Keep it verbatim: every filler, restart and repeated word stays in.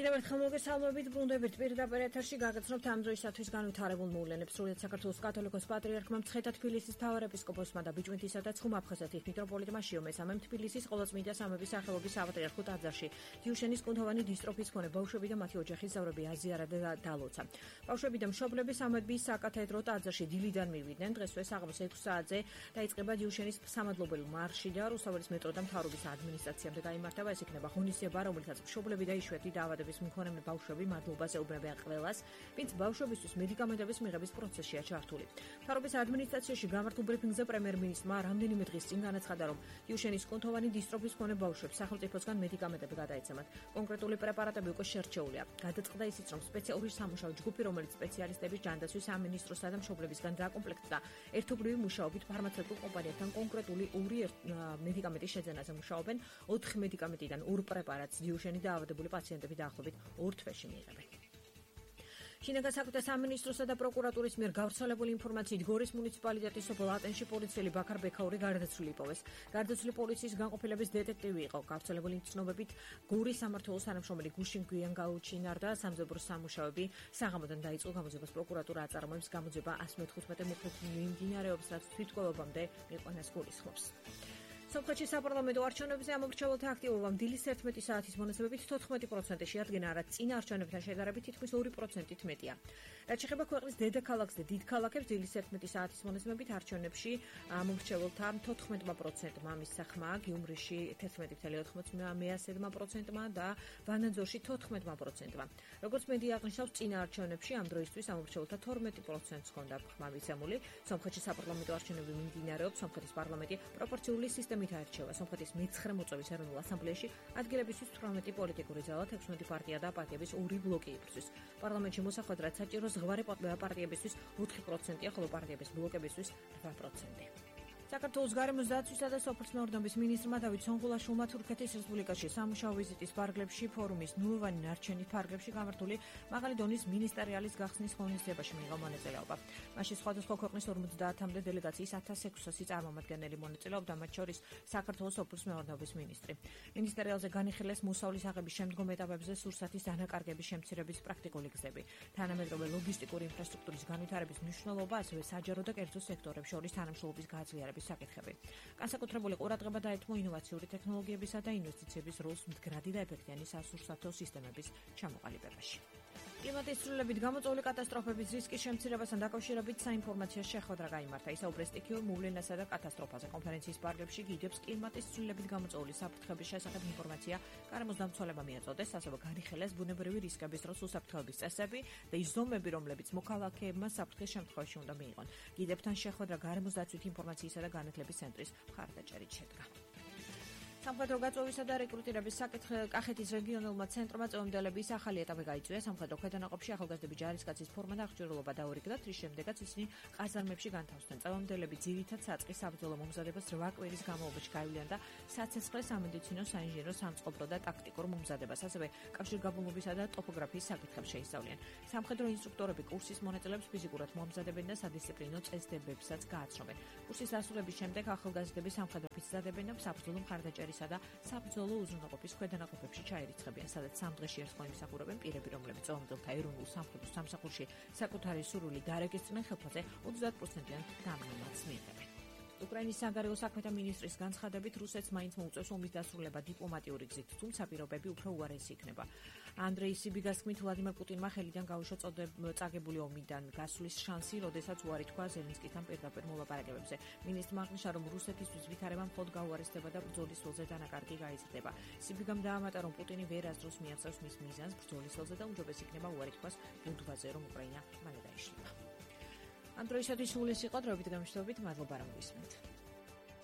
კიდევ ერთხელ მოგესალმებით, ბრუნდებით პირდაპირ ეთერში გაგაცნობთ ამ დროისათვის განვითარებულ მოვლენებს. სრულიად საქართველოს კათოლიკოს პატრიარქმა მცხეთა თბილისის მთავარეპისკოპოსმა და ბიჭვინთისა და ცხუმ-აფხაზეთის მიტროპოლიტმა შიომესამემ თბილისის ყოვლადწმინდა სამების სახელობის საპატრიარქო ტაძარში დიუშენის კუნთოვანი დისტროფის მქონე ბავშვები და მათი ოჯახის წევრები აზიარა და დალოცა. ბავშვები და მშობლები სამების საკათედრო ტაძარში დილიდან მივიდნენ. დღესვე საღამოს ექვსი საათზე დაიწყება დიუშენის სამადლობელი მარში და რუსთაველის მეტრო და მთავრობის ადმინისტრაციამდე გაიმართება. ეს იქნება ღონისძიება, რომელიცაც მშობლები და იშვიათი დაავადების მქონე ბავშვები მადლობას ეუბნებიან ყველას, ვინც ბავშვებისთვის მედიკამენტების მიღების პროცესშია ჩართული. მთავრობის ადმინისტრაციაში გამართულ ბრიფინგზე პრემიერ-მინისტრმა რამდენიმე დღის წინ განაცხადა, რომ დიუშენის კუნთოვანი დისტროფის მქონე ბავშვებს სახელმწიფოსგან მედიკამენტები გადაეცემათ. კონკრეტული პრეპარატები უკვე შერჩეულია. გადაწყდა ისიც, რომ სპეციალური სამუშაო ჯგუფი, რომელიც სპეციალისტების ჯანდაცვის სამინისტროსა და მშობლებისგან დააკომპლექტდა, ერთობლივი მუშაობით ფარმაცევტულ კომპანიებთან კონკრეტული ორი მედიკამენტის შეძენაზე მუშაობენ. ოთხი მედიკამენტიდან ორ პრეპარატს დიუშენის დაავადებული პაციენტები დაახლოებით ორ თვეში მიიღებენ. შინაგან საქმეთა სამინისტროსა და პროკურატურის მიერ გავრცელებული ინფორმაციით გორის მუნიციპალიტეტის სოფელ ატენში პოლიციელი ბაქარ ბექაური გარდაცვლილი იპოვეს. გარდაცვლილი პოლიციის განყოფილების დეტექტივი იყო. გავრცელებული ცნობებით გორის სამმართველოს თანამშრომელი გუშინ გვიან გაუჩინარდა სამძებრო სამუშაოები საღამოდან დაიწყო გამოძებას პროკურატურა აწარმოებს გამოძება ასი მეთერთმეტე მოქმედ მიმდინარეობს, რაც თვითკვლევამდე მიყვანას გულისხმობს. სომხეთში საპარლამენტო არჩევნებზე ამომრჩეველთა აქტივობამ დილის ერთმეტი საათის მონაცემებით თოთხმეტი პროცენტი შეადგენა, რაც წინა არჩევნებთან შედარებით თითქმის ორი პროცენტით მეტია. რაც შეეხება ქვეყნის დედაქალაქს და დიდ ქალაქებს, დილის ერთმეტი საათის მონაცემებით არჩევნებში ამომრჩეველთა თოთხმეტი პროცენტმა მისახმა, გიუმრიში თერთმეტი ფاصლე ოთხმოცდაათი პროცენტმა და ვანაძორში თოთხმეტი პროცენტმა. როგორც მედია აღნიშნავს, წინა არჩევნებში ამ დროისთვის ამომრჩეველთა თორმეტი პროცენტს ჰქონდა ხმა მიცემული. სომხეთში საპარლამენტო არჩევნები მიმდინარეობს. სომხეთის პარლამენტი პროპორციული სისტემით არჩევა. სომხეთის მეცხრე მოწვევის ეროვნულ ასამბლეაში ადგილებისთვის თვრამეტი პოლიტიკური ძალა, ექვსმეტი პარტია და პარტიების ორი ბლოკი იბრძვის. პარლამენტში მოსახვედ რაც საჭირო ზღვარი პარტიებისთვის ოთხი პროცენტია, ხოლო პარტიების ბლოკებისთვის რვა პროცენტი. საქართველოს გარემოს დაცვისა და სოფლის-მეურნეობის მინისტრმა დავით სონღულაშვილმა თურქეთის რესპუბლიკაში სამუშაო ვიზიტის ფარგლებში ფორუმის ნულოვანი ნარჩენის ფარგლებში გამართული მაღალი დონის მინისტერიალის გახსნის ღონისძიებაში მიიღო მონაწილეობა. მასში სხვადასხვა ქვეყნის ორმოცდაათამდე დელეგაციის ათას ექვსასი წარმომადგენელი მონაწილეობდა, მათ შორის საქართველოს სოფლის-მეურნეობის მინისტრი. მინისტერიალზე განიხილეს მოსავლის აღების შემდგომ ეტაპებზე სურსათის დანაკარგების შემცირების პრაქტიკული გზები, თანამედროვე ლოგისტიკური ინფრასტრუქტურის განვითარების მნიშვნელობა, ასევე საჯარო და კერძო სექტორებს შორის თანამშრომლობის გაძლიერების საკითხები. განსაკუთრებული ყურადღება დაეთმო ინოვაციური ტექნოლოგიებისა და ინვესტიციების როლს მდგრადი და ეფექტიანი სასურსათო სისტემების ჩამოყალიბებაში. კლიმატის ცვლილებით გამოწვეული კატასტროფების რისკის შემცირებასთან დაკავშირებით საინფორმაციო შეხვედრა გაიმართა. ისაუბრეს სტიქიურ მოვლენასა და კატასტროფაზე. კონფერენციის პარალელში გიდებს კლიმატის ცვლილებით გამოწვეული საფრთხების შესახებ ინფორმაცია გარემოს დამცველებმა მიაწოდეს, ასევე განიხილეს ბუნებრივი რისკების დროს უსაფრთხოების წესები და ის ზომები, რომლებიც მოქალაქეებმა საფრთხის შემთხვევაში უნდა მიიღონ. გიდებთან შეხვედრა გარემოს დაცვით ინფორმაციისა და განათლების ცენტრის მხარდაჭერით შედგა. სამხედრო გაწვევისა და რეკრუტირების საკითხი კახეთის რეგიონულმა ცენტრმა წევამდელების ახალი ეტაპი გაიწვია. სამხედრო ქვედანაყოფში ახალგაზრდები ჯარისკაცის ფორმა და აღჭურვილობა დაურიგდათ, რის შემდეგაც ისინი ყაზარმებში განთავსდნენ. წევამდელები ძირითად საწყის საბრძოლო მომზადებას რვა კვირის განმავლობაში გაივლიან და საცეცხლე, სამედიცინო, საინჟინრო, სამწყობრო და ტაქტიკურ მომზადებას, ასევე კავშირგაბმულობისა და ტოპოგრაფიის საკითხებს შეისწავლიან. სამხედრო ინსტრუქტორები კურსის მონაწილეებს ფიზიკურად მომზადებენ და სადისციპლინო წესდებებსაც გააცნობენ. კურსის დასრულების შემდეგ ახალგაზრდები სამხედრო იზრდებიან და საბრძოლო მხარდაჭერით და საბრძოლო უზრუნველყოფის ქვედანაყოფებში ჩაირიცხებიან, სადაც სამ დღეში ერთხელ იმსახურებენ პირები, რომლებიც წევამდელთა ეროვნულ სამხედრო სამსახურში საკუთარი სურვილი დარეგისტრირდნენ, ხელფასზე ოცდაათ პროცენტიან დამნელს მიიღებენ. უკრაინის საგარეო საქმეთა მინისტრის განცხადებით, რუსეთს მაინც მოუწევს ომის დასრულება დიპლომატიური გზით, თუმცა პირობები უფრო უარესი იქნება. ანდრეი სიბიგას თქმით, ვლადიმერ პუტინმა ხელიდან გაუშვა წაგებული ომიდან გასვლის შანსი, როდესაც უარი თქვა ზელენსკისთან პირდაპირ მოლაპარაკებებზე. მინისტრმა აღნიშნა, რომ რუსეთისთვის ვითარება მხოლოდ გაუარესდება და ბრძოლის ველზე დანაკარგი გაიზრდება. სიბიგამ დაამატა, რომ პუტინი ვერასდროს მიაღწევს მის მიზანს ბრძოლის ველზე და უმჯობეს იქნება უარი თქვას ბუდვაზე, რომ უკრაინა მალე დაიშლება. ამ დროისათვის სულ ეს იყო დროებით გამშვიდობით, მადლობა რომ გვისმენთ.